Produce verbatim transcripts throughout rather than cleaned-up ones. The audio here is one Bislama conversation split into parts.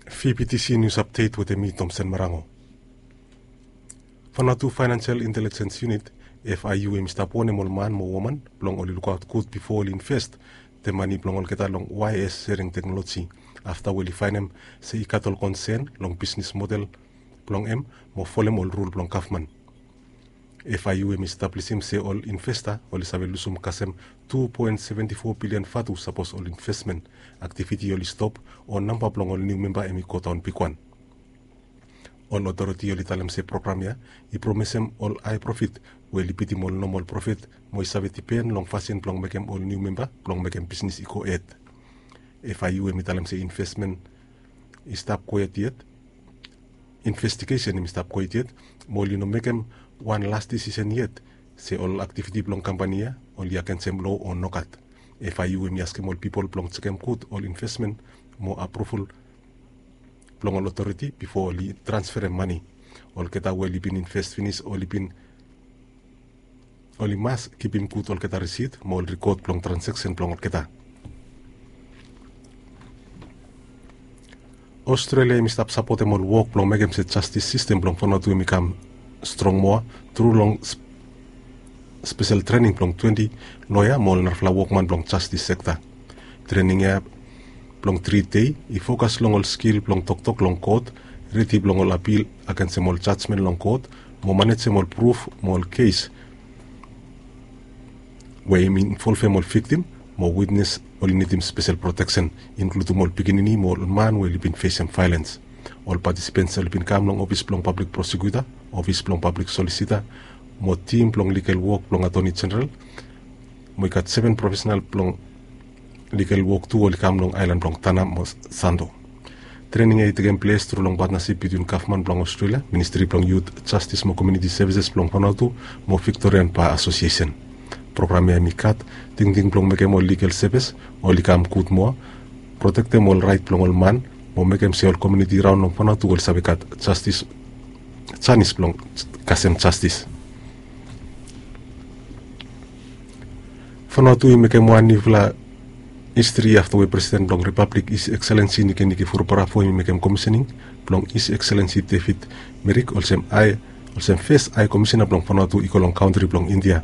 Fibitisi nius apdet wetem mi, Tomsen Marango. Fanatu Financial Intelligence Unit, F I U, hem i stap wonem ol man mo woman blong oli lukaot gud bifo oli invest de mane blong olgeta long Y S sharing teknoloji, afta we oli faenem se i gat ol konsen long bisnis model blong hem mo folem ol rul blong gavman. F I U hem i stablisim se ol investa oli save lusum kasem tu poen seventi fo bilian vatu sapos ol investmen aktiviti oli stop o namba blong ol niu memba hem i godaon bigwan. Ol otoriti oli talem se program ya i promesem ol hae profit we oli bitim ol nomol profit mo i save dipen long fasin blong mekem ol niu memba blong mekem bisnis i go hed. F I U hem i talem se investmen i stap kwet yet investigesen hem i stap kwet yet mo oli no mekem wan las disisen yet se ol aktiviti blong kampani ya oli agensem lo o nogat. F I U hem i askem ol pipol blong jekem gud ol investmen mo apruval blong ol otoriti bifo oli transferem mane. Olgeta we oli bin invest finis oli bin oli mas kipim gud olgeta risit mo ol rikot blong transeksen blong olgeta. Australia hem i stap sapotem ol wok blong mekem se jastis sistem blong Vanuatu hem i kam strong moa tru long spesel trening blong twenti loea mo ol narafala wokman blong jastis sekta. Trening ya blong tri dei i fokas long ol skil blong toktok long kot, redi blong ol apil agensem ol jajmen long kot, mo manejem ol pruf mo ol kes we i involvem ol viktim mo witnes oli nidim spesel proteksen, inkludem ol pikinini mo ol man we oli bin fesem vaelens. Ol patisipens oli bin kam long ofis blong pablik prosekuta, ofis blong pablik solisita, mo tim blong ligal wok blong atoni jeneral, mo i gat seven profesenal blong ligal wok tu oli kam long aelan blong Tanna mo Santo. Trening ya i tekem ples tru long patnasip bitwin gavman blong Australia, Ministri blong Yut, Jastis mo Komuniti Sevises blong Vanuatu mo Viktorian Ba Asosiesen. Program ya hem i gat tingting blong mekem ol ligal sevis oli kam gud moa, protektem ol raet blong ol man mo mekem se ol komuniti raon long Vanuatu oli save gat jastis, janis blong kasem jastis. Vanuatu i mekem wan niufala histri afta we Presiden blong Ripablik, His Excellency Nikenike Vurobaravu hem i mekem komisening blong His Excellency David Merrick olsem hae, olsem fes hae komisena blong Vanuatu i go long kantri blong India.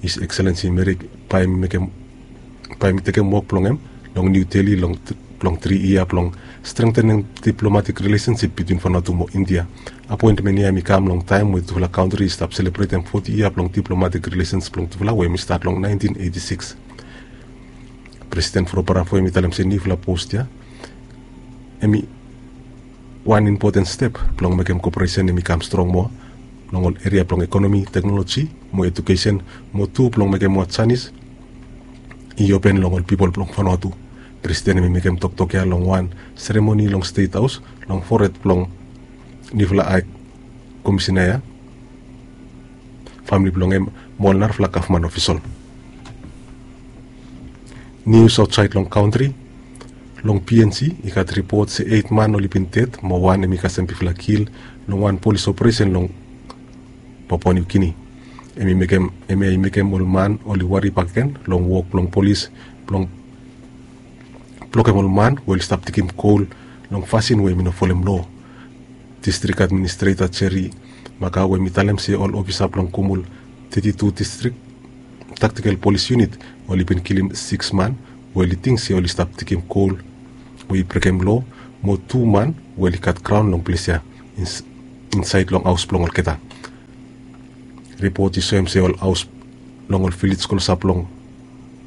His Excellency Merrick bae hem i mekem bae hem i tekem wok blong hem long New Delhi long blong tri yia blong strengtenem diplomatik rilesensip bitwin Vanuatu mo India. Apoentmen ya hem i kam long taem we tufala kantri i stap selebretem foti yia blong diplomatik rilesens blong tufala we hem i stat long naentin eiti sikis. Presiden Vurobaravu hem i talem se niufala pos ya hem i wan impoten step blong mekem koperesen hem i kam strong moa long ol eria blong ekonomi, teknoloji mo edukesen, mo tu blong mekem moa janis i open long ol pipol blong Vanuatu. Presiden hem i mekem toktok ya long wan seremoni long Stet Haos long fored blong niufala hae komisena ya, famili blong hem mo ol narafala gavman ofisol. Nius aotsaed long kantri. Long P N G i gat ripot se eit man oli bin ded mo wan hem i kasem bigfala kil long wan polis operesen long Papua New Guinea. Hem i mekem, hemia i mekem ol man oli wari bakegen long wok blong polis blong blokem ol man we oli stap digim gol long fasin we hem i no folem loa. Distrik Administreta Jerry Makau hem i talem se ol ofisa blong Kumul teti tu Distrik Taktikel Polis Yunit oli bin kilim sikis man we oli ting se oli stap digim gol we i brekem loa, mo tu man we oli gat graon long ples ya insaed long haos blong olgeta. Ripot i soem se ol haos long ol vilej klosap long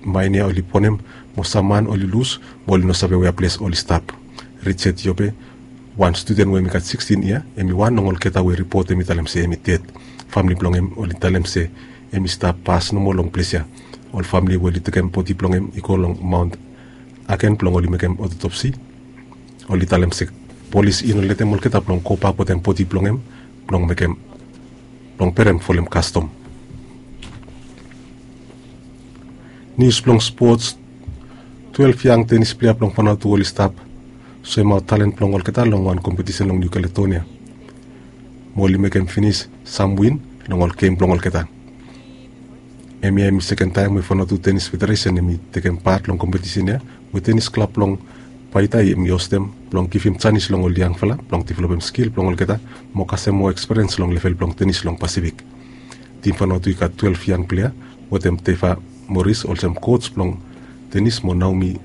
maen ya oli bonem, mo sam man oli lus mo oli no save wea ples oli stap. Richard Yobe, wan studen we hem i gat sikstin yia, hem i wan long olgeta we ripot hem i talem se hem i ded. Famili blong hem oli talem se hem i stap pas nomo long ples ya. Ol famili we oli tekem bodi blong hem i go long Maon Agen blong oli mekem otopsi. Oli talem se polis i no letem olgeta blong gobak wetem bodi blong hem blong mekem blong berem folem kastom. Nius blong spots. Twelef yang tenis plea blong Vanuatu oli stap soemaot talen blong olgeta long wan kompetisen long Niu Kaledonia mo oli mekem finis sam win long ol gem blong olgeta. Hemia hem i seken taem we Vanuatu Tenis Federesen hem i tekem pat long kompetisen ya we tenis klab blong Paita i hemi hostem blong givim janis long ol yangfala blong developem skil blong olgeta mo kasem moa eksperiens long level blong tenis long Pasifik. Tim Vanuatu i gat twelef yang plea wetem Deva Morris olsem kots blong tenis mo Naomi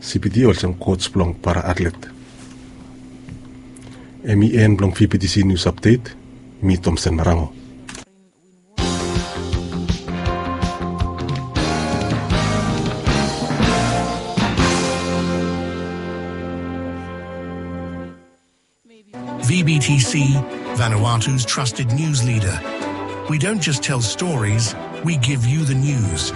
Sipiti olsem kots blong para atlet. Hemi en blong V B T C News Update. Mi Tomsen Marango. V B T C, Vanuatu's trusted news leader. We don't just tell stories, we give you the news.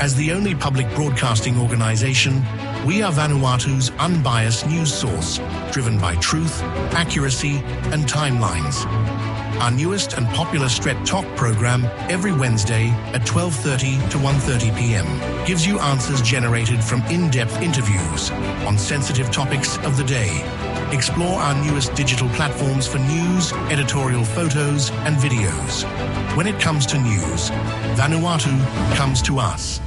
As the only public broadcasting organization, we are Vanuatu's unbiased news source, driven by truth, accuracy, and timelines. Our newest and popular Stret Tok program every Wednesday at twelve thirty to one thirty p m gives you answers generated from in-depth interviews on sensitive topics of the day. Explore our newest digital platforms for news, editorial photos, and videos. When it comes to news, Vanuatu comes to us.